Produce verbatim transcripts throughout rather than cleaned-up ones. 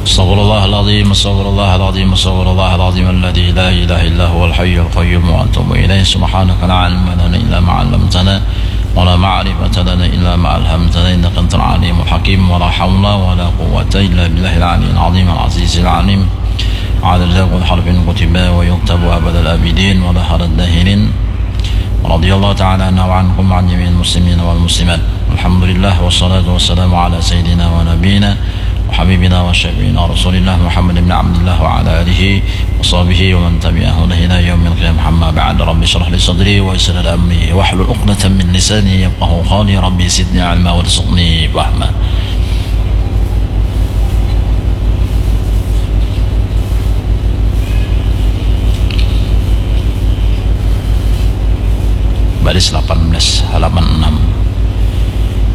Astaghfirullahaladzim, astaghfirullahaladzim, astaghfirullahaladzim alladzi la ilaha illa huwal hayyul qayyum wa atubu ilaih. Subhanaka la ilma lana illa ma 'allamtana wa la ma'rifata lana illa ma 'allamtana innaka antal alimul hakim. Wa la haula wa la quwwata illa billahil aliyil azim al azizil alim. Adada kulli harfin kutiba wa yuktabu abadal abidin wa la harad dahilin. Radhiyallahu ta'ala anna wa ankum wa an jami'il muslimin wal muslimat. Alhamdulillah, wassalatu wassalamu ala sayyidina wa nabiyina wa habibina wa syafi'ina rasulillah Muhammad ibn Abdillah wa ala alihi wa sahbihi wa man tabi'ahu ila yaumil qiyamah, amma ba'd. Rabbi shrah li sadri wa yassir li amri wahlul uqdatan min lisani yafqahu qawli. Rabbi zidni ilma warzuqni fahma. Baris lapan belas halaman enam.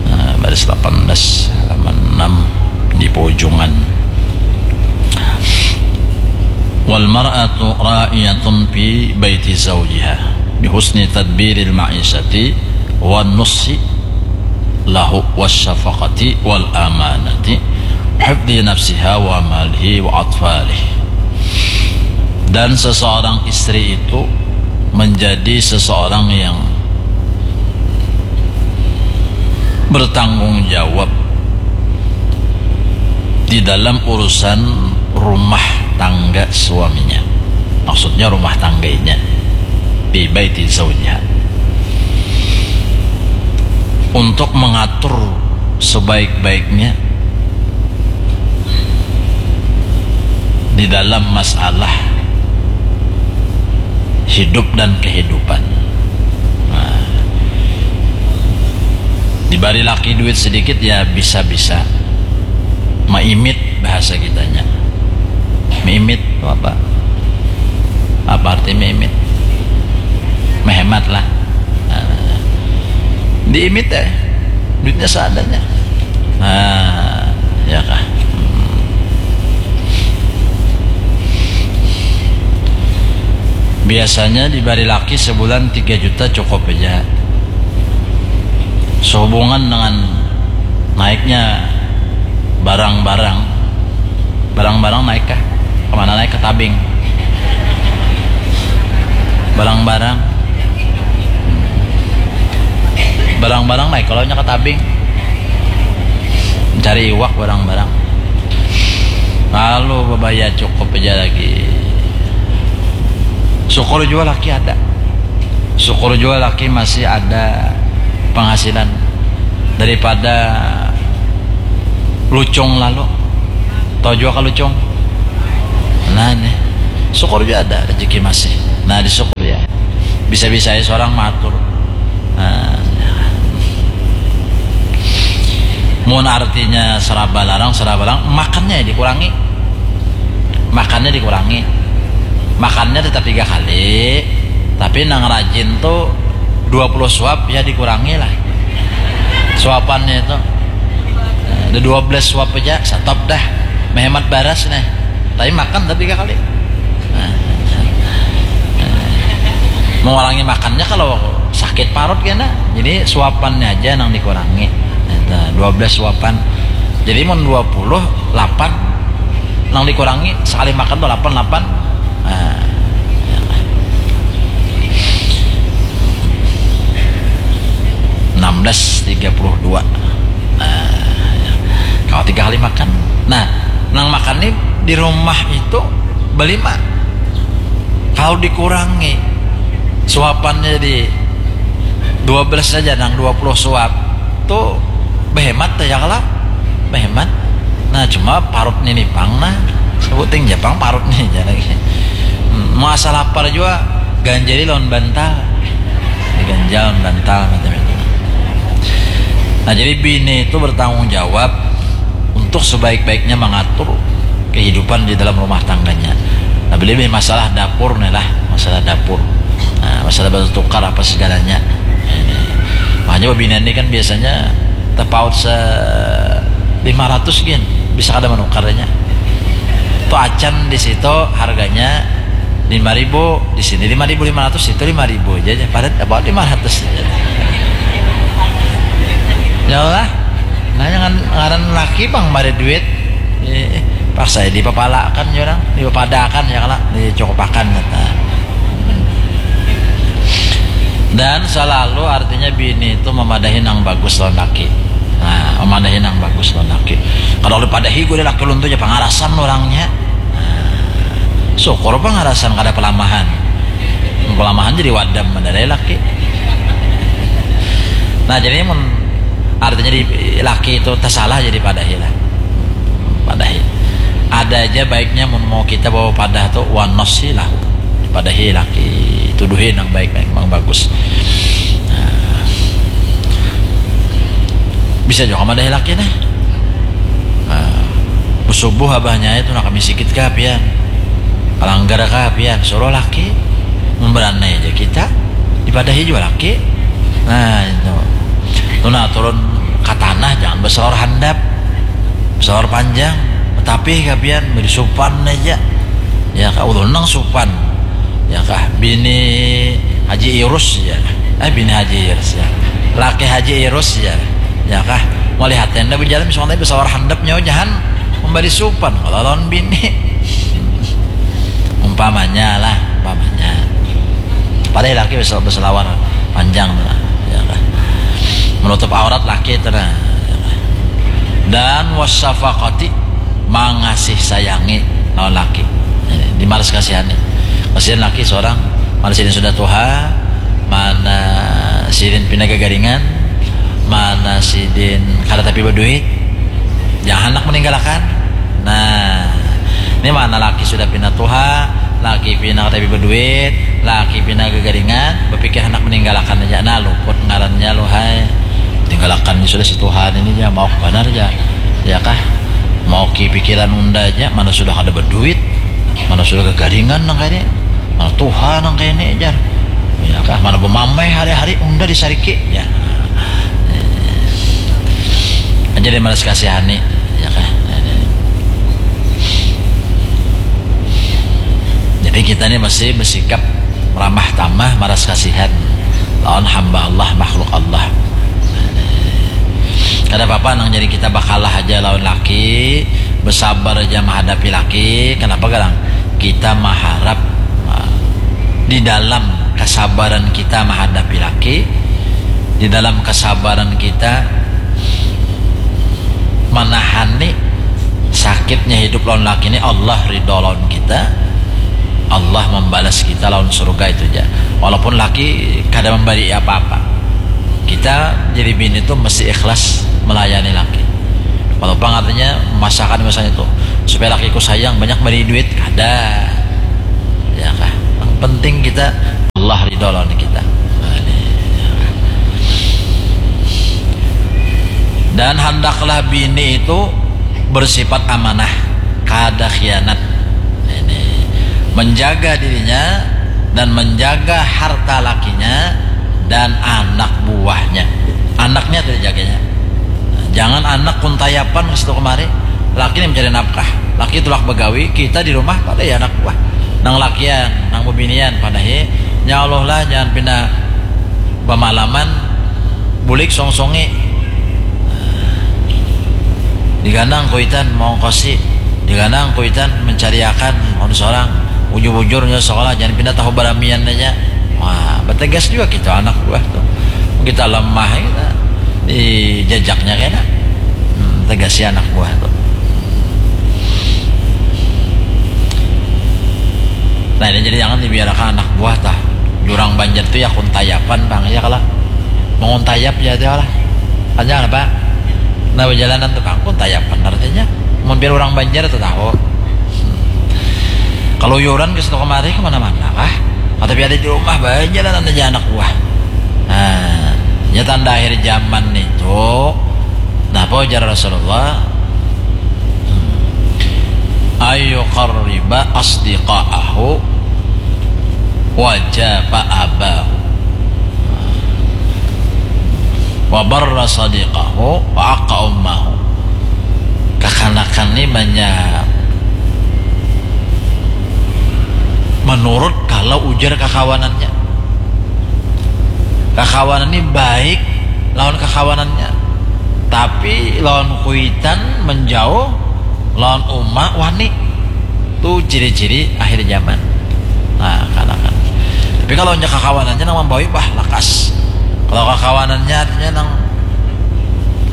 Nah, baris lapan belas halaman enam di pojungan. Wal mar'atu ra'iyatun fi baiti zawjiha bi husni tadbiril ma'isyati wan nushi lahu wasyafaqati wal amanati hifdhi nafsiha wa malihi wa atfalih. Dan seseorang istri itu menjadi seseorang yang bertanggung jawab di dalam urusan rumah tangga suaminya. Maksudnya rumah tangganya, di baiti zaujiha, untuk mengatur sebaik-baiknya di dalam masalah hidup dan kehidupan. Nah, dibari laki duit sedikit, ya bisa-bisa maimit, bahasa kitanya. Maimit itu apa? Apa arti maimit? Menghemat lah. Nah, diimit ya, duitnya seadanya. Nah, ya kah? Hmm. Biasanya dibari laki sebulan tiga juta cukup aja. Sehubungan dengan naiknya barang-barang, barang-barang naik kah? Kemana naik? Ke tabing. Barang-barang, barang-barang naik kalau nya ke tabing, mencari iwak barang-barang. Lalu bebaya cukup aja lagi. Syukur jua laki ada. Syukur jua laki masih ada penghasilan daripada lucung lalu. Tahu jua kah lucung? Nah, nih. Syukur jua ada rezeki masih. Nah, disyukur ya. Bisa-bisa aja seorang matur. Nah, mun artinya seraba larang, seraba larang, makannya dikurangi. Makannya dikurangi. Makannya tetap tiga kali, tapi nang rajin tuh dua puluh suap, ya dikurangi lah suapannya itu. Ada dua belas suap aja, stop dah. Menghemat baras nih. Tapi makan tapi tiga kali. Nah, mengurangi makannya kalau sakit parut kena. Jadi suapannya aja nang dikurangi. Nah, dua belas suapan. Jadi mun dua puluh, delapan nang dikurangi, sekali makan tuh delapan, delapan. Nah, enam belas tiga puluh dua. Nah, kalau tiga kali makan. Nah, nang makan nih di rumah itu berlima. Kalau dikurangi suapannya di dua belas saja, nang dua puluh suap tuh berhemat ya kalau berhemat. Nah, cuma parut nih pang, nah, sebuting Jepang parut nih aja lagi. Hmm, mau asal lapar juga ganjali lawan bantal. Ganjal lawan bantal macam itu. Nah, jadi bini itu bertanggung jawab untuk sebaik-baiknya mengatur kehidupan di dalam rumah tangganya. Nah, lebih masalah dapur nih lah, masalah dapur. Nah, masalah batu tukar apa segalanya. Ini. Makanya bebinian ini kan biasanya tepaut se lima ratus gin, bisa kada menukarnya. Tuh acan di situ harganya lima ribu, di sini lima ribu lima ratus, itu lima ribu aja, aja. Padat apa lima ratus aja. Ya Allah, nah, jangan ngaran laki pang mari duit. Eh, Paksa ya dipapalakan ya orang, dipapadakan ya kala, dicukupakan kata. Dan selalu artinya bini itu memadahi nang bagus lawan laki. Nah, memadahi nang bagus lawan laki. Kalau dipadahi gue laki ulun tuh ya pangarasan orangnya. Nah, syukur pangarasan kada pelamahan. Pelamahan jadi wadam mendarai laki. Nah, jadi mun artinya di laki itu tersalah jadi padahi lah. Padahi. Ada aja baiknya mun mau kita bawa padah tuh wanasi lah. Padahi laki, tuduhi nang baik, nang bagus. Nah, bisa juga madahi laki nah. Nah, subuh abahnya itu nak kami sikit kah pian, palanggar kah pian, suruh laki. Memberanai aja kita, dipadahi juga laki. Nah itu tuh, nah turun ke tanah, jangan besar handap, besar panjang, tapi kah pian beri supan aja. Ya kah, ulun nang supan. Ya kah, bini Haji Irus ya. Eh, bini Haji Irus ya. Laki Haji Irus ya. Ya kah, melihat tenda berjalan misalnya besar handap nyawa jahan memberi supan kalau lawan bini. Umpamanya lah, umpamanya. Padahal laki bisa berselawar panjang lah. Ya kah, menutup aurat laki itu nah. Ya kah. Dan wasafakati, mangasih sayangi lawan laki. Ini dimaras kasihani. Kasihan laki seorang, mana sidin sudah tuha, mana sidin pina gagaringan, mana sidin kada tapi berduit, jangan handak meninggalkan. Nah, ini mana laki sudah pina tuha, laki pina kada tapi berduit, laki pina gagaringan, berpikir handak meninggalkan aja. Nah, luput ngarannya lu hai. Tinggalkan ini sudah si Tuhan ini ya, mau benar ya. Ya kah? Mau ki pikiran unda aja, mana sudah ada berduit, mana sudah gagaringan nang kayak ini, mana tuha nang kayak ini jar. Ya kah? Mana bemamai hari-hari unda disariki ya. Aja deh malas kasihani ya kah? Jadi kita ini masih bersikap ramah tamah, maras kasihan lawan hamba Allah, makhluk Allah. Kada apa-apa nang jadi kita bakalah aja lawan laki, bersabar aja menghadapi laki. Kenapa kadang kita mengharap ah, di dalam kesabaran kita menghadapi laki, di dalam kesabaran kita menahani sakitnya hidup lawan laki ini, Allah ridho lawan kita, Allah membalas kita lawan surga itu aja. Walaupun laki kada memberi apa-apa, kita jadi bini tuh mesti ikhlas melayani laki. Walaupun artinya memaksakan misalnya tuh supaya lakiku sayang banyak beri duit, kada. Ya kah? Yang penting kita Allah ridho lawan kita. Dan handaklah bini itu bersifat amanah, kada khianat. Ini menjaga dirinya dan menjaga harta lakinya dan anak buahnya. Anaknya tuh dijaganya. Jangan anak kuntayapan ke situ kemari. Laki ini mencari nafkah. Laki tulak begawi, kita di rumah pada ya anak buah. Nang lakian, nang bebinian pada he. Ya Allah lah, jangan pindah bamalaman, bulik songsongi. Diganang kuitan mongkosi, diganang kuitan mencariakan on seorang. Ujur-ujurnya sekolah jangan pindah tahu baramian aja. Wah, bertegas juga kita anak buah tuh. Kita lemah kita dijajaknya kena. Hmm, tegas ya anak buah tuh. Nah ini jadi jangan dibiarkan anak buah tah. Jurang Banjar tuh ya kuntayapan bang ya kalau menguntayap ya dia lah. Panjang apa? Nah perjalanan tuh bang kuntayapan artinya. Mun biar orang Banjar tuh tahu. Kalau yuran ke situ kemari kemana-mana kah? Tapi ada di rumah banyak dan aja anak buah. Nah, ya tanda akhir zaman itu. Nah, apa ujar Rasulullah? Ayu qarriba asdiqaahu wa japa abahu wa barra sadiqahu wa aqqa ummahu. Kakanakan ni banyak menurut kalau ujar kakawanannya. Kakawanan ni baik lawan kakawanannya, tapi lawan kuitan menjauh Lawan uma wani. Tu ciri-ciri akhir zaman. Nah, kanakan. Tapi kalau nya kakawanannya nang mambawi, bah, lakas. Kalau kakawanannya artinya nang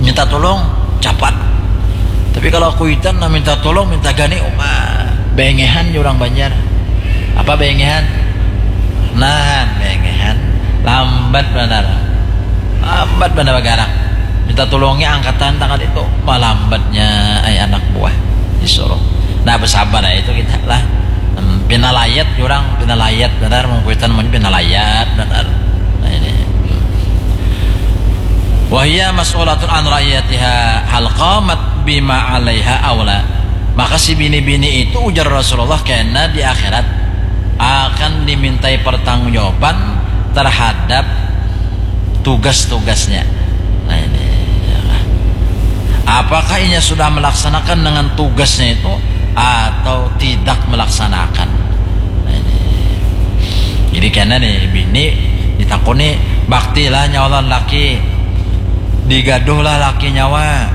minta tolong, capat. Tapi kalau kuitan nang minta tolong, minta gani, uma, bengehan jar urang Banjar. Apa bengehan? Nah, bengehan. Lambat banar. Lambat banar bagarak. Minta tulungnya angkatan tangan itu. Malambatnya ai anak buah disuruh. Nah, bersabar aja itu kita lah. Hmm, pina layat urang, pina layat banar, mungkuitan mun pina layat banar. Nah, ini. Wahia mas'ulatun an ra'iyatiha hal qamat bima alaiha aula. Maka si bini-bini itu, ujar Rasulullah, kena di akhirat akan dimintai pertanggungjawaban terhadap tugas-tugasnya. Nah, ini, ya. Apakah inya sudah melaksanakan dengan tugasnya itu atau tidak melaksanakan? Nah, ini. Jadi kena nih, bini ditakuni, bakti lah nyawa lawan laki, digaduh lah laki nyawa,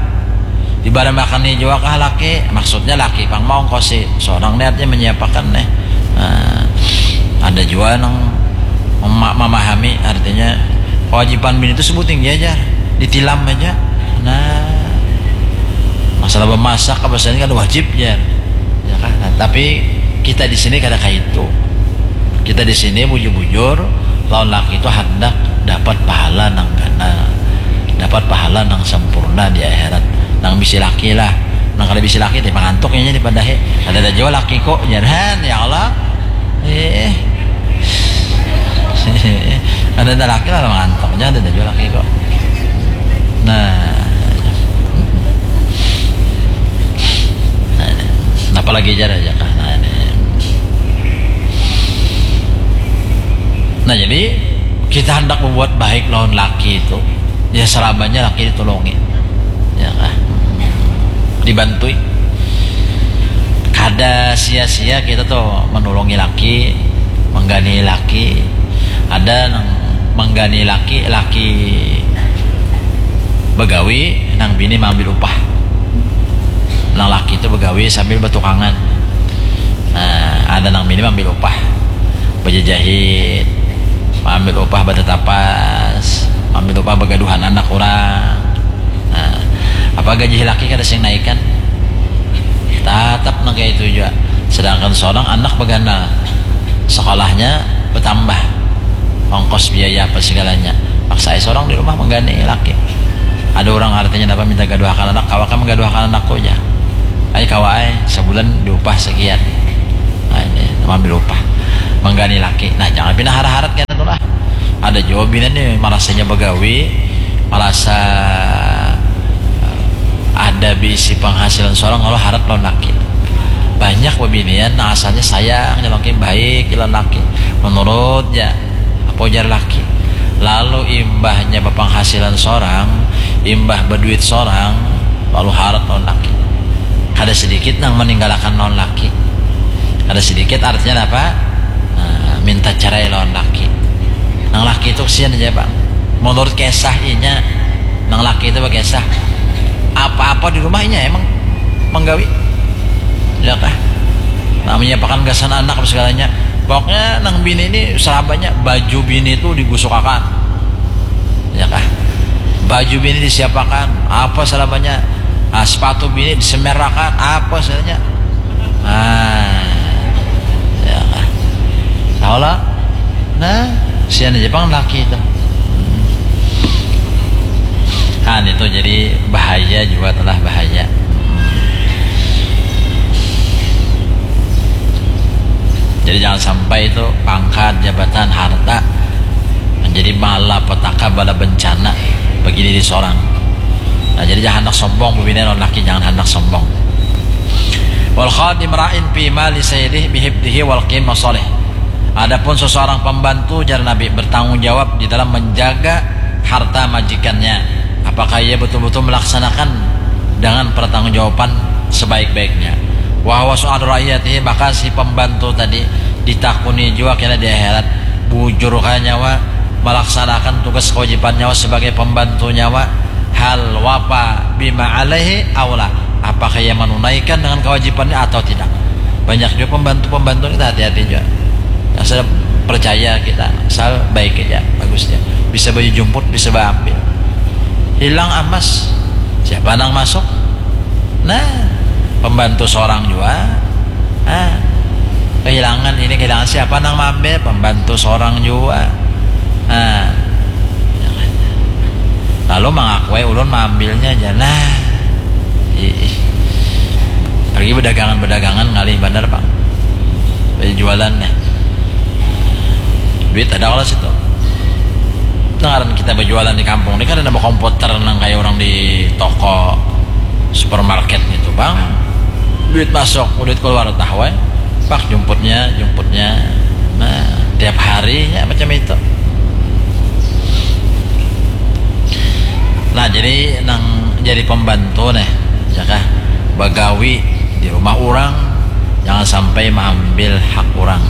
dibaramakan nih jua kah laki, maksudnya laki pang mau ongkosi seorang nih, artinya menyiapakan nih. Nah, ada jua nang mema- memahami artinya kewajiban bini itu sebut tinggi aja, ditilam aja. Nah, masalah memasak apa saja kan wajib ya, ya kan? Nah, tapi kita di sini kada kayak itu. Kita di sini bujur-bujur, lawan laki itu hendak dapat pahala nang ganal, dapat pahala nang sempurna di akhirat. Nang bisi laki lah, nang kada bisi laki teh mangantuk inya dipadahi. Ada ada jua laki kok, jangan ya Allah. Eh, ada ada laki lah mangantuk, jangan ada ada jua laki kok. Nah, nah, apalagi jar aja kah? Nah, ini. Nah, jadi kita hendak berbuat baik lawan laki itu, ya selamanya laki ditolongi, ya kah? Dibantui. Kada sia-sia kita tuh menolongi laki, menggani laki. Ada nang menggani laki, laki begawi, nang bini maambil upah. Nang laki itu begawi sambil betukangan. Nah, ada nang bini maambil upah, bejejahit, maambil upah betetapas, maambil upah begaduhan anak urang. Nah, apa gaji laki kada sing naikan? Tatap nang kaya itu jua. Sedangkan seorang anak bagana, sekolahnya betambah, ongkos biaya apa segalanya. Paksa ai seorang di rumah menggani laki. Ada urang artinya napa minta gaduhakan anak, kawa kah menggaduhakan anakku jar. Ai kawa ai, sebulan diupah sekian. Nah, ini maambil upah, menggani laki. Nah, jangan pina harat-harat kena tu lah. Ada jua bini nih marasanya begawi, marasa ada bisi penghasilan seorang lalu harat lawan laki. Banyak bebinian nang asalnya sayang jar laki, baik jar laki, menurut ja apa ujar laki. Lalu imbahnya bepenghasilan seorang, imbah beduit seorang, lalu harat lawan laki. Kada sedikit nang meninggalkan lawan laki. Kada sedikit artinya apa? Nah, minta cerai lawan laki. Nang laki itu kesian aja, Pak. Menurut kisah inya, nang laki itu berkisah, apa-apa di rumah inya emang menggawi, ya kah? Nah, menyiapakan gasan anak apa segalanya. Pokoknya nang bini ini serabanya, baju bini itu digusukakan, ya kah? Baju bini disiapakan, apa serabanya, ah, sepatu bini disemerakan, apa segalanya. Ah, ya kah? Tahu lah. Nah, sian aja pang laki itu. Kan itu jadi bahaya juga, telah bahaya. Jadi jangan sampai itu pangkat, jabatan, harta menjadi malapetaka, bala bencana bagi diri seorang. Nah, jadi jangan hendak sombong, bebini lawan laki jangan hendak sombong. Wal khadim ra'in fi mali sayyidih bihifdihi wal qim masalih. Adapun seseorang pembantu, jar Nabi, bertanggung jawab di dalam menjaga harta majikannya. Apakah ia betul-betul melaksanakan dengan pertanggungjawaban sebaik-baiknya? Wa huwa su'alu ra'iyatihi, maka si pembantu tadi ditakuni jua kena di akhirat, bujurkah nyawa melaksanakan tugas kewajiban nyawa sebagai pembantu nyawa, hal wafa bima alaihi aula, Apakah ia menunaikan dengan kewajibannya atau tidak? Banyak juga pembantu-pembantu kita, hati-hati juga. Asal percaya kita, asal baik aja, bagus aja. Bisa baju jumput, bisa baambil. Hilang amas, siapa nang masuk? Nah, pembantu seorang juga. Ah, kehilangan ini, kehilangan, siapa nang maambil? Pembantu seorang juga. Nah, lalu mangakui ulun maambilnya aja. Nah, ih. Pergi bedagangan-bedagangan ngalih banar, Pak. Jualan nih. Duit ada kalau situ. Nah, ngaran kita berjualan di kampung ini kan ada komputer nang kayak orang di toko supermarket gitu, Bang. Duit masuk, duit keluar, tah weh. Pak, jumputnya, jumputnya. Nah, tiap harinya macam itu. Nah, jadi nang jadi pembantu nih, ya kah? Bagawi di rumah orang, jangan sampai mengambil hak orang.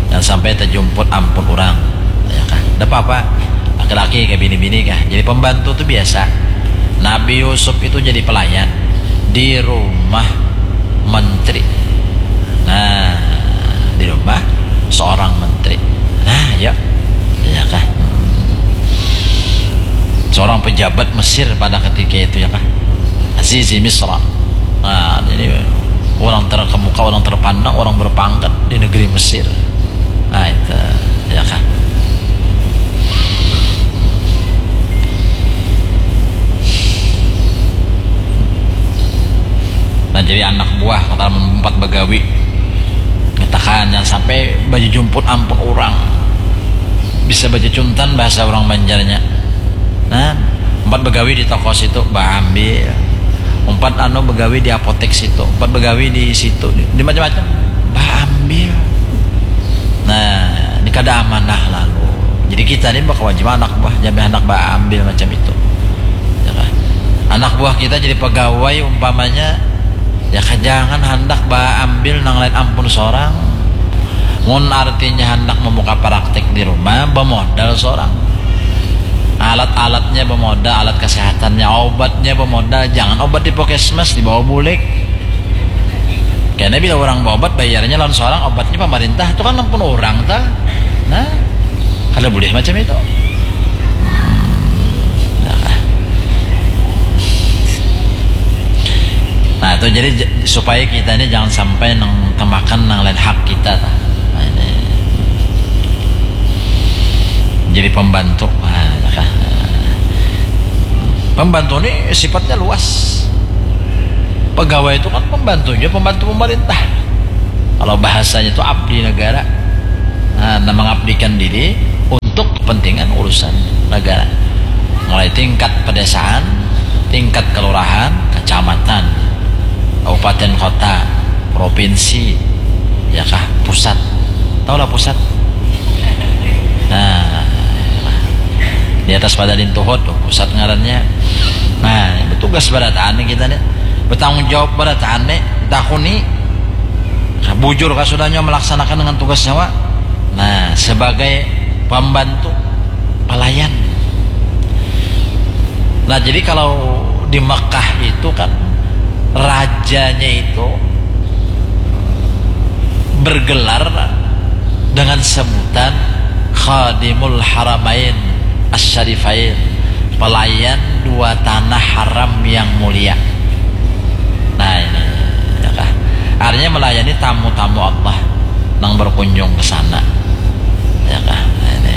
Jangan sampai terjumput ampun orang. Ya kah? Tidak apa-apa. Laki-laki kayak bini-bini kah? Jadi pembantu tuh biasa. Nabi Yusuf itu jadi pelayan di rumah menteri. Nah, di rumah seorang menteri. Nah, ya. Ya kah? Seorang pejabat Mesir pada ketika itu, ya kah? Azizi Misra. Nah, jadi orang terkemuka, orang terpandang, orang berpangkat di negeri Mesir. Nah, itu, ya kah? Nah, jadi anak buah kata empat bagawi. Katakan jangan sampai baju jumput ampun orang. Bisa baju cuntan bahasa orang Banjarnya. Nah, empat bagawi di toko situ, baambil. Empat anu bagawi di apotek situ, empat bagawi di situ, di, di macam-macam. Baambil. Nah, ini kada amanah lalu. Jadi kita ni berkewajiban anak buah, jangan hendak baambil macam itu. Ya kah? Anak buah kita jadi pegawai umpamanya, ya kah, jangan hendak baambil nang lain ampun seorang. Mun artinya hendak membuka praktik di rumah, bemodal seorang. Alat-alatnya bemodal, alat kesehatannya, obatnya bemodal. Jangan obat di puskesmas, dibawa bulik. Karena bila orang berobat, bayarnya lawan seorang, obatnya pemerintah, itu kan ampun orang ta. Nah, kada boleh macam itu. Nah, itu jadi j-, supaya kita ini jangan sampai nang temakan nang lain hak kita ta. Nah, ini. Jadi pembantu. Nah, ya kah? Pembantu ini sifatnya luas. Pegawai itu kan pembantunya pembantu pemerintah. Kalau bahasanya itu abdi negara. Nah, nah, mengabdikan diri untuk kepentingan urusan negara. Mulai tingkat pedesaan, tingkat kelurahan, kecamatan, kabupaten kota, provinsi, ya kah, pusat. Tahulah pusat? Nah, di atas pada lintuhut tuh pusat ngarannya. Nah, bertugas barataan nih kita nih. Bertanggung jawab barataan nih. Takuni. Nah, bujur kah sudahnya melaksanakan dengan tugasnya, Wak? Nah, sebagai pembantu, pelayan. Nah, jadi kalau di Mekah itu kan rajanya itu bergelar dengan sebutan Khadimul Haramain Asy-Syarifain, pelayan dua tanah haram yang mulia. Nah, ini, ya kah? Artinya melayani tamu-tamu Allah nang berkunjung ke sana. Ya kah? Nah, ini.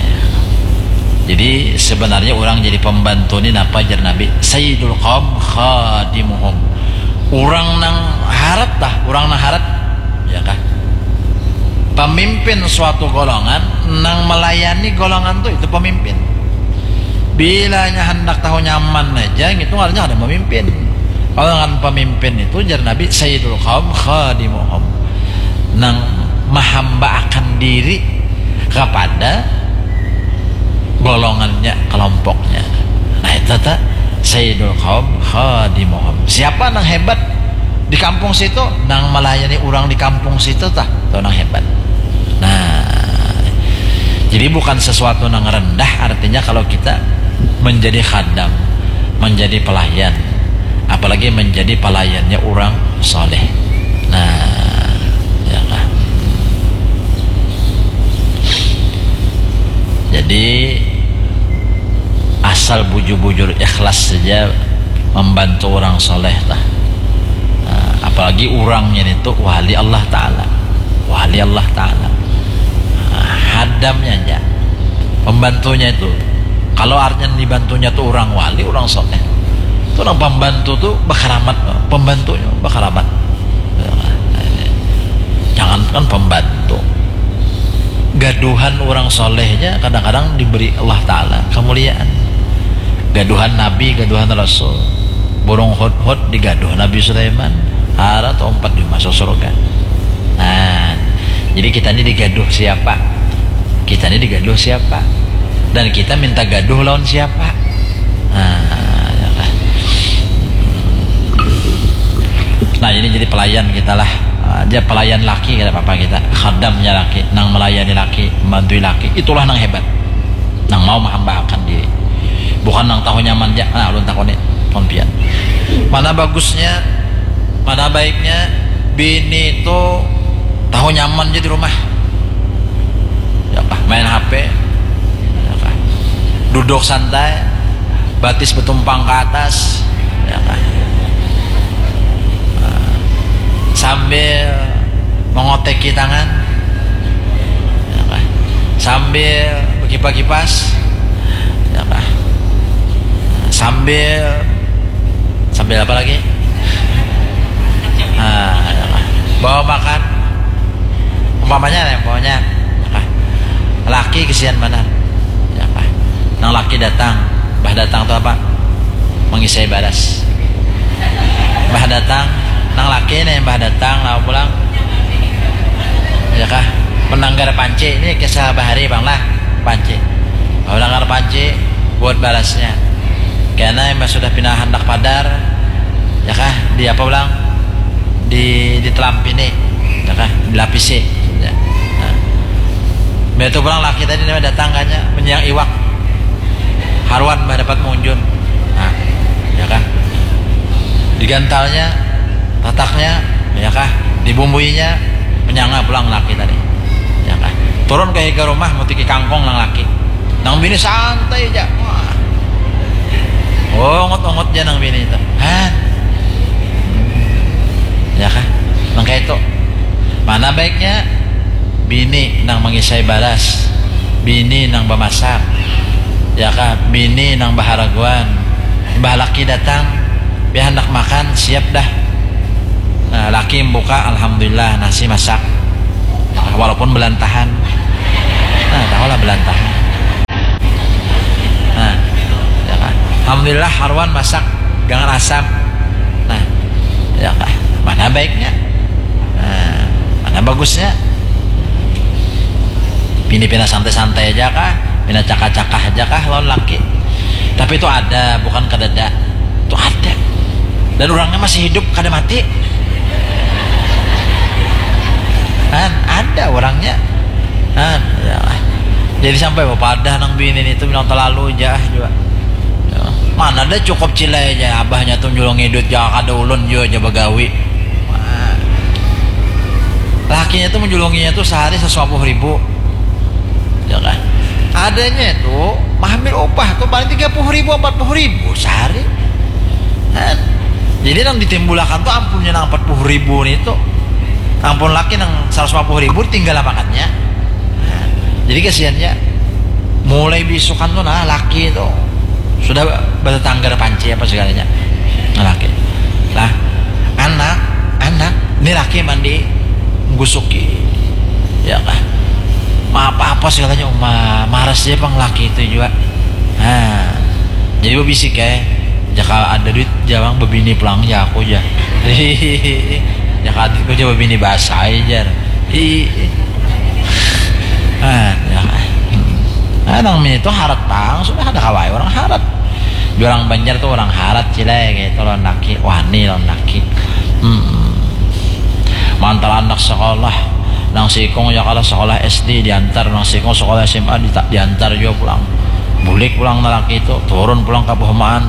Jadi sebenarnya orang jadi pembantu ni napa jar Nabi? Sayyidul qaum khadimuhum. Orang nang harat lah, orang nang harat. Ya kah? Pemimpin suatu golongan nang melayani golongan tu, itu pemimpin. Bilanya hendak tahu nyaman aja, itu artinya ada pemimpin. Kalau dengan pemimpin itu, jar Nabi, sayyidul qaum khadimuhum, nang mahamba akan diri kepada golongannya, kelompoknya. Nah, itu ta, sayyidul qaum khadimuhum. Siapa nang hebat di kampung situ? Nang melayani orang di kampung situ ta, itu nang hebat. Nah, jadi bukan sesuatu nang rendah artinya kalau kita menjadi khadam, menjadi pelayan. Apalagi menjadi pelayannya orang soleh. Nah, ya kan? Jadi asal bujur-bujur ikhlas saja membantu orang soleh lah. Nah, apalagi orangnya itu wali Allah Ta'ala. Wali Allah Ta'ala. Nah, hadamnya aja. Pembantunya itu, kalau artinya dibantunya tuh orang wali, orang soleh, itu orang pembantu tuh berkeramat, pembantunya berkeramat. Jangan kan pembantu, gaduhan orang solehnya kadang-kadang diberi Allah Ta'ala kemuliaan. Gaduhan Nabi, gaduhan Rasul. Burung hudhud digaduh Nabi Sulaiman, harat umpat di masuk surga. Nah, jadi kita ini digaduh siapa? Kita ini digaduh siapa? Dan kita minta gaduh lawan siapa? Nah, ya kan? Nah, ini jadi pelayan kita lah. Ah, dia pelayan laki, kada apa-apa kita. Khadamnya laki, nang melayani laki, membantui laki, itulah nang hebat. Nang mau mehambaakan diri. Bukan nang tahu nyaman ja. Nah, ulun takuni, pon pian. Mana bagusnya, mana baiknya bini itu tahu nyaman ja di rumah. Ya kah? Main H P. Ya kah? Duduk santai, batis betumpang ke atas. Ya kah? Nah, sambil mengoteki tangan. Ya kah? Sambil bekipas-kipas. Ya kah? Sambil, sambil apa lagi? Nah, ya kah? Bawa makan. Umpamanya yang bawanya, ya kah? Laki kesian banar. Ya kah? Nang laki datang, bah datang tuh apa? Mengisai baras. Bah datang, nang laki nih, bah datang, lalu pulang. Ya kah? Menanggar panci, ini kisah bahari bang lah, panci. Menanggar panci, buat barasnya. Karena yang sudah pindah hendak padar, ya kah? Di apa ulang? Di, ditelampini, ya kah? Dilapisi. Ya. Nah. Biar itu pulang laki tadi namanya datang kanya, menyiang iwak. Haruan bah dapat munjun. Nah, ya kah? Digantalnya, tataknya, ya kah? Dibumbuinya, menyanga pulang laki tadi. Ya kah? Turun ke higa rumah, mutiki kangkung nang laki. Nang bini santai aja. Wah. Ongot-ongot aja nang bini itu. Hah? Ya kah? Nang kayak itu. Mana baiknya? Bini nang mengisai baras, bini nang bamasak, ya kah? Bini nang baharaguan, imbah laki datang, pian handak makan, siap dah. Nah, laki membuka, alhamdulillah, nasi masak. Walaupun belantahan. Nah, tahulah belantahan. Nah, ya kah? Alhamdulillah, haruan masak, gangan asam. Nah, ya kah? Mana baiknya? Nah, mana bagusnya? Bini pina santai-santai aja kah? Pina cakah-cakah aja kah lawan laki? Tapi itu ada, bukan kadada. Itu ada. Dan orangnya masih hidup, kada mati. Kan ada orangnya. Kan, ya. Jadi sampai bapadah nang bini itu bilang terlalu aja juga. Ya. Mana ada cukup cilai aja abahnya tuh nyulung hidup, ya, kada ulun juga aja bagawi. Wah. Lakinya tuh menjulunginya tuh sehari seratus lima puluh ribu. Ya kan? Adanya itu mahambil upah tuh paling tiga puluh ribu, empat puluh ribu sehari. Kan? Jadi nang ditimbulakan tuh ampunnya nang empat puluh ribu nih tuh. Ampun laki nang seratus lima puluh ribu tinggal makannya. Nah, jadi kasihannya mulai bisukan tuh nah laki itu sudah bertetangga panci apa segalanya. Nah, laki. Lah, anak, anak, ini laki mandi gusuki. Ya kah? Ma apa-apa segalanya uma maras dia pang laki itu juga. Nah, jadi bebisik ya. Jaka ada duit jawang bebini pulang ya aku aja. Jaka ada duit aja bebini basah aja. Ih. Ah, ya. Hmm. Ah, nang mini itu harat pang, sudah ada kawai orang harat. Jurang Banjar tuh orang harat cilai gitu lawan laki, wani lawan laki. Hmm. Mantal anak sekolah, nang sikung ya kalau sekolah S D diantar, nang sikung sekolah S M A dita- diantar juga pulang. Bulik pulang lelaki itu, turun pulang ke perumahan.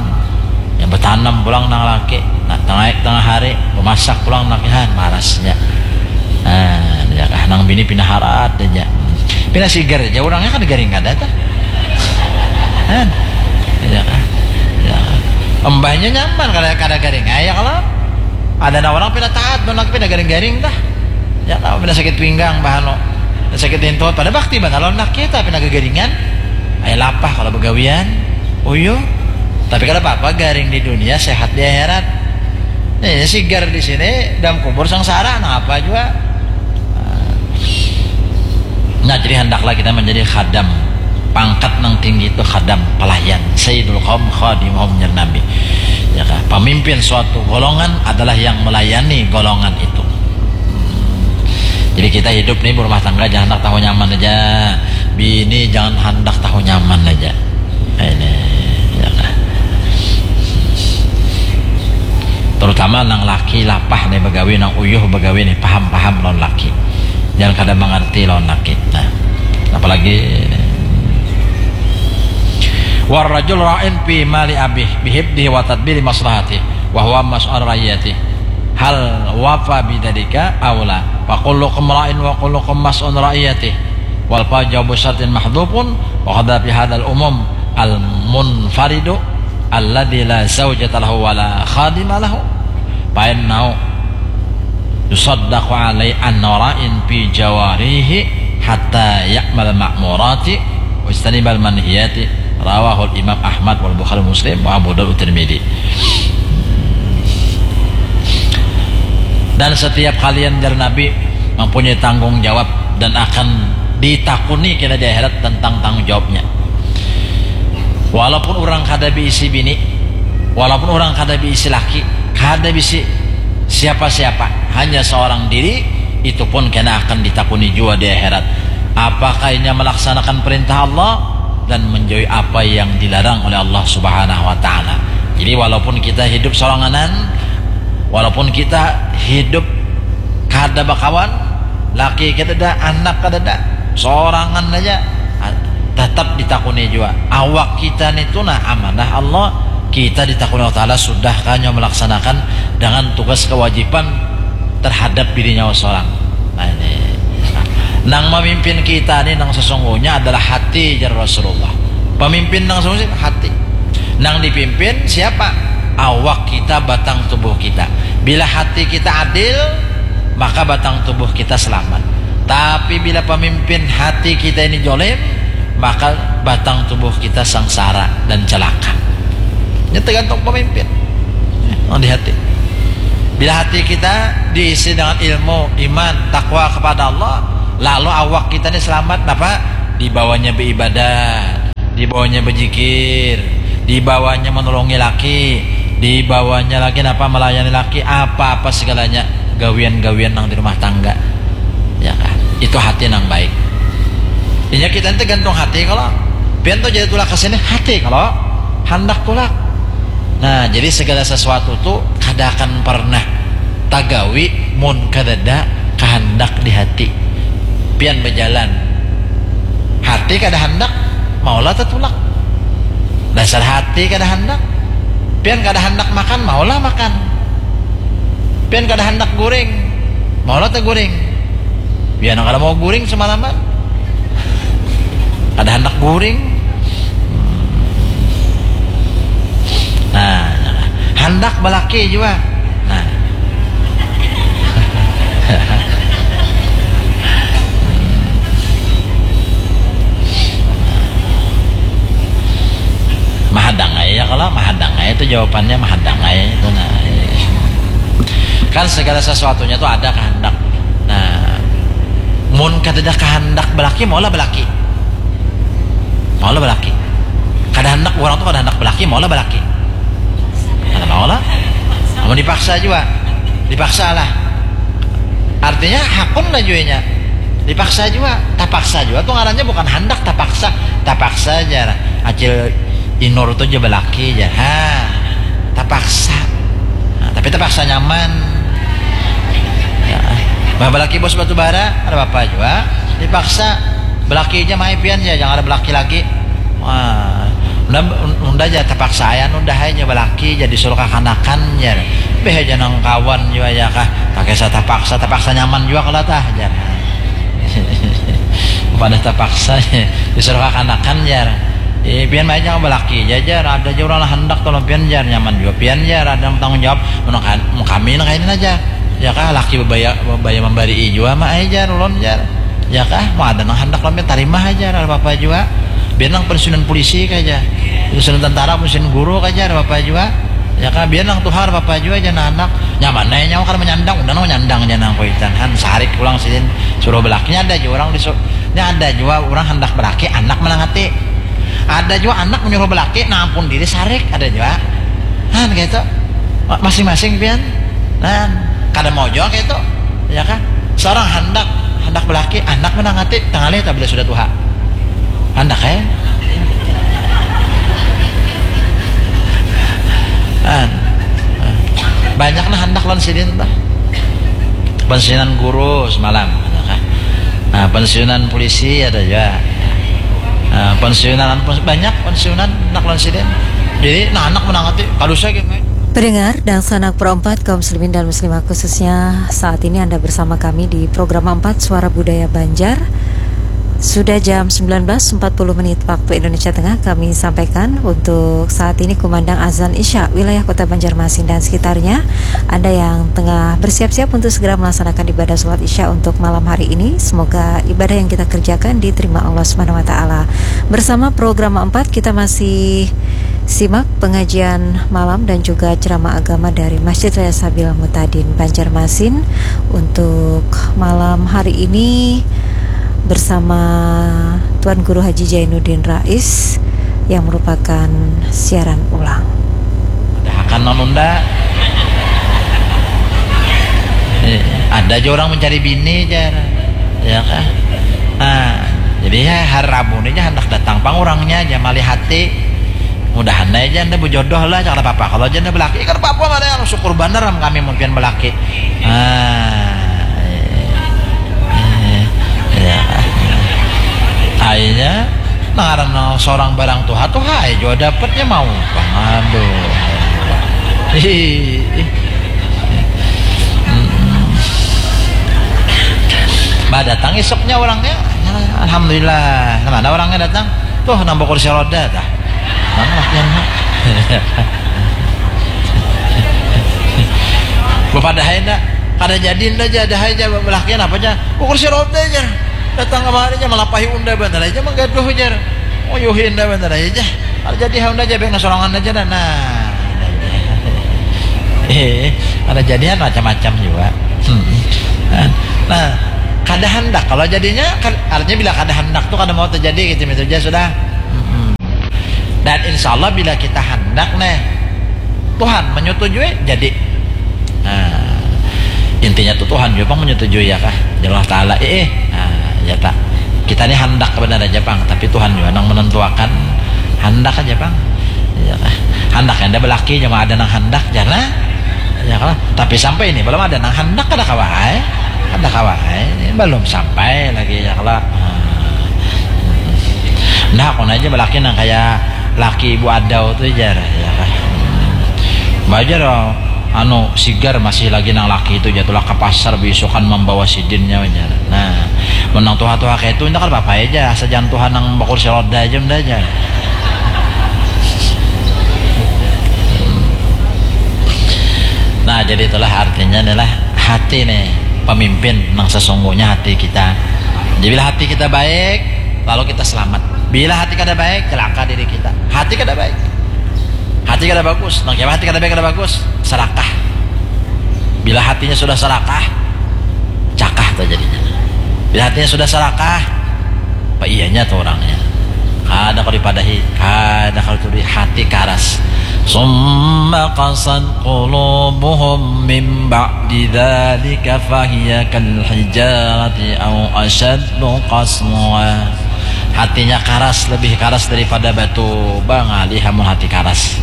Ya, batanam pulang nang laki. Nah, tengah, tengah hari, bamasak pulang nang laki, han, marasnya. Nah, ya kah, nang bini pina harat aja. Pina sigar aja orangnya, kada garing kada tah. Han. Ya kah? Ya. Imbahnya nyaman kada, kada garing. Ya, kalau ada nang orang pina taat, nang laki pina garing-garing tah. Ya, kalau pina sakit pinggang, bahano. Sakit intut, pada bakti banar lawan laki, tapi pina gagaringan. Ai lapah kalau bagawian. Uyuh. Tapi kada apa-apa, garing di dunia, sehat di akhirat. Nih, sigar di sini, dalam kubur sengsara, napa jua. Nah, jadi handaklah kita menjadi khadam. Pangkat nang tinggi itu khadam, pelayan. Sayyidul qaum khadimuhum, jar Nabi. Ya kah? Pemimpin suatu golongan adalah yang melayani golongan itu. Jadi kita hidup nih berumah tangga, jangan handak tahu nyaman aja. Bini jangan handak tahu nyaman aja. Ini, ya kah? Terutama nang laki lapah nih bagawi, nang uyuh bagawi nih, paham-paham lawan laki. Jangan kada mengerti lawan laki. Nah, apalagi, warrajul ra'in fi mali abih bihibdihi wa tadbiri maslahati wa huwa mas'ul rayyati. Hal wafa bidalika aula. Fa kullukum ra'in wa kullukum mas'ul rayyati. Wal fa jawabu syartin mahdhufun wa qadha fi hadzal umum al munfaridu alladzi la zaujata lahu wa la khadima lahu. Fa innahu yusaddaqu alai anna ra'in fi jawarihi hatta ya'mal ma'murati wajtanibal manhiyati. Rawahul Imam Ahmad wal Bukhari Muslim wa Abu Daud Tirmidzi. Dan setiap kalian, jar Nabi, mempunyai tanggung jawab dan akan ditakuni kena di akhirat tentang tanggung jawabnya. Walaupun orang kada bisi bini, walaupun orang kada bisi laki, kada bisi siapa-siapa, hanya seorang diri, itu pun kena akan ditakuni jua di akhirat. Apakah inya melaksanakan perintah Allah dan menjauhi apa yang dilarang oleh Allah Subhanahu wa Ta'ala? Jadi, walaupun kita hidup soranganan, walaupun kita hidup kada bakawan, laki kadada, anak kadada, sorangan aja, tetap ditakuni jua. Awak kita ni tu nah amanah Allah, kita ditakuni Allah Ta'ala sudah kah inya melaksanakan dengan tugas kewajiban terhadap dirinya seorang. Nah, ini. Nang memimpin kita ni nang sesungguhnya adalah hati, jar Rasulullah. Pemimpin nang sesungguhnya hati. Nang dipimpin siapa? Awak kita, batang tubuh kita. Bila hati kita adil, maka batang tubuh kita selamat. Tapi bila pemimpin hati kita ini jolim, maka batang tubuh kita sengsara dan celaka. Ini tergantung pemimpin. Yang di hati. Bila hati kita diisi dengan ilmu, iman, takwa kepada Allah, lalu awak kita ini selamat, napa? Dibawanya beribadah, dibawanya berzikir, dibawanya menolongi laki, dibawanya lagi napa, melayani laki, apa-apa segalanya, gawian-gawian nang di rumah tangga. Ya kan? Itu hati nang baik. Inya kita ini tergantung hati kalau pian tuh jadi tulak ke sini, hati kalau handak tulak. Nah, jadi segala sesuatu tuh kada akan pernah tagawi mun kadada kahandak di hati. Pian bejalan, hati kada handak, maulah tatulak. Dasar hati kada handak. Pian kada handak makan, maulah makan. Pian kada handak guring, maulah taguring. Pian kada mau guring semalaman. Kada handak guring. Nah, handak balaki jua. Nah. Mahadang ai ya, kalau mahadang ai itu jawabannya, mahadang ai itu. Nah, kan segala sesuatunya tuh ada kehendak. Nah, mun kadada kehendak balaki, maulah balaki. Maulah balaki. Kada handak, orang tuh kada handak balaki, maulah balaki. Kada maulah. Mau dipaksa jua. Dipaksa lah. Artinya hakun lah juanya. Dipaksa jua. Tapaksa jua tuh ngarannya bukan handak, tapaksa. Tapaksa aja. Acil Inur tuh aja balaki aja. Ha. Tapaksa. Nah, tapi tapaksa nyaman. Ya. Bah, balaki bos batu bara, ada apa jua. Dipaksa. Balaki aja mai pian ya, jangan ada balaki lagi. Wah, Unda, unda ja tapaksa ai anu dah ai jar balaki ja disuruh kakanakan jar. Beh ja nang kawan jua ya kah. Takisah tapaksa, tapaksa nyaman jua kalo tah jar. Pada tapaksa disuruh kakanakan jar. Eh, pian baik ja balaki ja jar. Ada ja urang nang handak tolong pian jar, nyaman jua pian jar. Ada nang tanggung jawab. Mun kami nang kaini aja. Ya kah, laki babaya, babaya mambarii jua ma ai jar ulun jar. Ya kah, mau ada nang handak lawan pian tarimah aja, kada apa-apa jua. Biar nang pensiunan polisi kah aja. Pensiunan tentara, pensiunan guru kah aja, kada apa-apa jua. Ya kah, biar nang tuha kada apa-apa jua, jangan anak. Nyaman ai nyawa kada manyandang, udah nang manyandang ja nang kuitan. Han sarik pulang sidin suruh belakinya ada jua urang disu-, nya ada jua urang handak belaki anak manang hati. Ada jua anak menyuruh belaki nang ampun diri sarik, ada jua. Han kaitu. Ma-, masing-masing pian. Nah, kada mau jua kaitu. Ya kah? Seorang handak, handak belaki, anak manang hati, tangalih ta bila sudah tuha. Handak ai. An. Banyak nah handak lawan sidin tuh. Pensiunan guru semalam, ya kah? Nah, pensiunan polisi ada jua. Nah, pensiunan, banyak pensiunan handak lawan sidin. Jadi, nah, anak manang hati, kada usah gitu. Pendengar, dangsanak Pro empat, kaum muslimin dan muslimah khususnya, saat ini Anda bersama kami di Program empat Suara Budaya Banjar. Sudah jam sembilan belas empat puluh menit waktu Indonesia Tengah, kami sampaikan untuk saat ini kumandang azan Isya wilayah Kota Banjarmasin dan sekitarnya. Anda yang tengah bersiap-siap untuk segera melaksanakan ibadah sholat Isya untuk malam hari ini, semoga ibadah yang kita kerjakan diterima Allah Subhanahu wa Ta'ala. Bersama Program empat, kita masih simak pengajian malam dan juga ceramah agama dari Masjid Raya Sabil Mutadin Banjarmasin untuk malam hari ini bersama Tuan Guru Haji Jainuddin Rais yang merupakan siaran ulang. Ada akan menunda. Eh, ada aja orang mencari bini jar. Ya kah? Nah, jadi ya hari Rabu ini aja hendak datang pang orangnya aja malih hati. Mudahan aja anda berjodoh lah, jangan apa-apa. Kalau aja anda belaki, kan apa-apa mana yang syukur bener am kami mungkin belaki. Nah, eh, eh, ya. Akhirnya, nah, karena seorang barang tuha, tuha aja juga dapatnya mau. Aduh. Ih. Mm-mm. Bah, datang isuknya orangnya. Alhamdulillah. Nah, mana orangnya datang? Tuh, nang bakursi roda tah. Mana lakiannya? Bapadahai nda? Kada jadi nda, jadahai ja, belakian apa ja? Bakursi roda ja. Datang kamari ja, malapahi unda bantal aja, manggaduh jar. Uyuhi unda bantal aja. Kada jadi ha unda ja, baik nang sorangan aja dah. Nah. Eh, kada jadian macam-macam jua. Hmm. Nah, nah, kada handak kalau jadinya, kan, artinya bila kada handak tuh kada mau terjadi gitu, itu aja sudah. Hmm. Dan insya Allah bila kita handak nih, Tuhan menyetujui, jadi. Nah, intinya tuh Tuhan juga pang menyetujui ya kah? Ya Allah Ta'ala, eh, eh. Nah, ya tak. Kita nih handak benar aja pang, tapi Tuhan juga nang menentuakan handak aja pang. Ya kah? Handak anda belaki, cuma ada nang handak, jana. Ya kah? Tapi sampai ini belum ada nang handak, kada kawa ai. Kada kawa ai. Ini belum sampai lagi, ya kah? Nah. Nah, aku aja belaki nang kayak laki ibu adau tuh jar, ya kah? Bajar, anu, sigar masih lagi nang laki itu jatuhlah ke pasar beisukan membawa sidinnya, jar. Nah, menang tuha-tuha kayak itu, ini kan apa aja, asal jangan tuha nang bakursi roda aja, udah aja. Nah, jadi itulah artinya adalah hati nih, pemimpin nang sesungguhnya hati kita. Jadi bila hati kita baik, lalu kita selamat. Bila hati kada baik, celaka diri kita. Hati kada baik. Hati kada bagus. Nang hati kada baik, kada bagus, serakah. Bila hatinya sudah serakah, cakah tuh jadinya. Bila hatinya sudah serakah, apa iyanya tuh orangnya? Kada kau dipadahi, kada kau tuh hati karas. Summa qasat qulubuhum min ba'di dzalika fahiya kal hijarati au asyaddu qaswa. Hatinya karas, lebih karas daripada batu. Bangalih amun hati karas.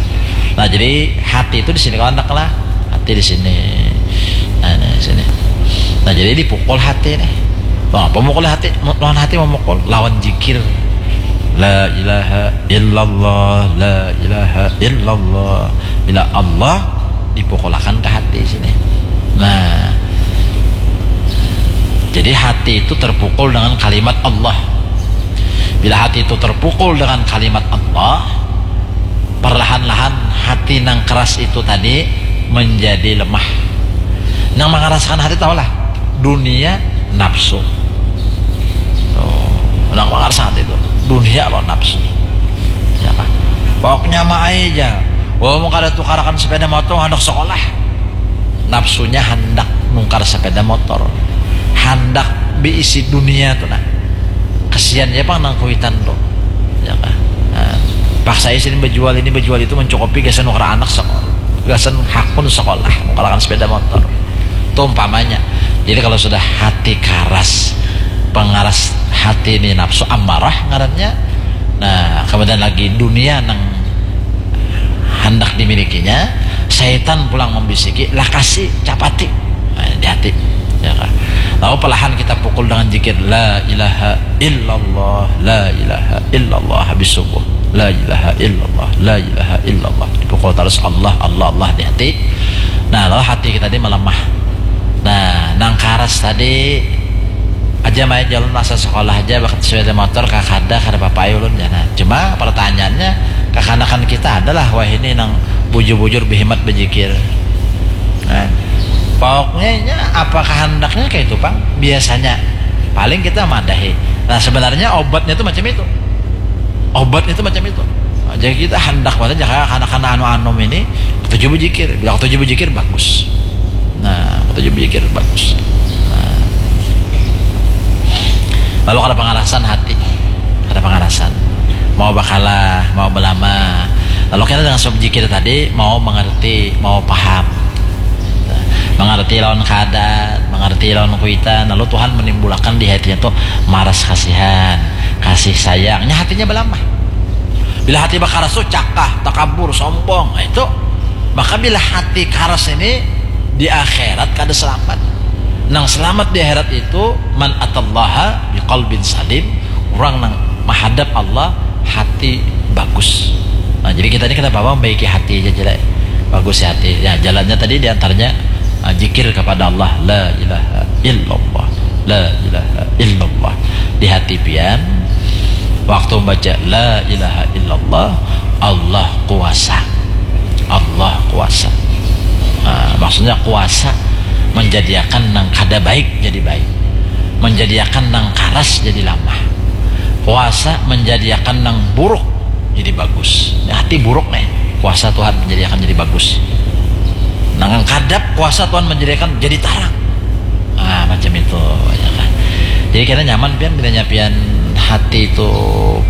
Nah, jadi hati itu di sini kawan lah. Hati di sini. Nah, nah, sini. Nah, jadi dipukul hati nih. Nah, pemukul hati, lawan hati memukul, lawan jikir. La ilaha illallah, la ilaha illallah. Bila Allah dipukulakan ke hati sini. Nah, jadi hati itu terpukul dengan kalimat Allah. Bila hati itu terpukul dengan kalimat Allah, perlahan-lahan hati nang keras itu tadi menjadi lemah. Nang mengeraskan hati tahulah, dunia, nafsu. Oh, nang mengeraskan hati itu dunia lo nafsu. Ya kan? Pokoknya mah aja. Wah, mau kada tukarakan sepeda motor, hendak sekolah. Nafsunya hendak nukar sepeda motor, hendak beisi dunia tuh nah. Kesian ya pang nang kuitan tuh, ya kan? Nah, paksa isin berjual ini berjual itu mencukupi gasan nukar anak sekolah, gasan hakun sekolah, nukarakan sepeda motor tuh umpamanya. Jadi kalau sudah hati karas, pengaras hati ini nafsu amarah ngarannya. Nah, kemudian lagi dunia nang hendak dimilikinya, syaitan pulang membisiki, lakasi, capati. Nah, di hati. Ya kan? Lalu perlahan kita pukul dengan zikir, la ilaha illallah, la ilaha illallah, habis subuh. La ilaha illallah, la ilaha illallah. Dipukul terus Allah, Allah, Allah di hati. Nah, lalu hati kita ini melemah. Nah, nang karas tadi aja main jalan masa sekolah aja bakat sepeda motor kakada kada papai ulun ya. Nah, cuma pertanyaannya, kakanakan kita adalah wah ini nang bujur-bujur behimat bejikir. Nah, pokoknya apa kehendaknya kayak itu pang biasanya. Paling kita madahi. Nah, sebenarnya obatnya tuh macam itu. Obatnya tuh macam itu. Jadi kita hendak banget aja kayak anak-anak anu-anu ini ketujuh bejikir. Bila ketujuh bejikir bagus. Nah, ketujuh bejikir bagus. Nah. Lalu kada pengalasan hati, kada pengalasan. Mau bakalah, mau belama. Lalu kita dengan sebab jikir tadi mau mengerti, mau paham. Mengerti lawan keadaan, mengerti lawan kuitan. Lalu Tuhan menimbulkan di hatinya tuh maras kasihan, kasih sayangnya hatinya belamah. Bila hati bakaras tuh cakah, takabur, sombong, nah, itu. Maka bila hati karas ini di akhirat kada selamat. Nang selamat di akhirat itu man atallaha biqalbin salim, orang nang menghadap Allah hati bagus. Nah, jadi kita ini kenapa membaiki hati aja jelek, bagus ya hati. Ya, jalannya tadi diantaranya uh, jikir kepada Allah, la ilaha illallah, la ilaha illallah. Di hati pian waktu membaca la ilaha illallah, Allah kuasa. Allah kuasa. Nah, maksudnya kuasa menjadikan nang kada baik jadi baik, menjadikan nang karas jadi lamah. Kuasa menjadikan nang buruk jadi bagus. Ini hati buruk nih, kuasa Tuhan menjadikan jadi bagus. Nang kadap kuasa Tuhan menjadikan jadi tarang. Ah, macam itu, ya kan. Jadi kita nyaman pian bila nyapian hati itu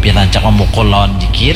pian rancak memukul lawan jikir,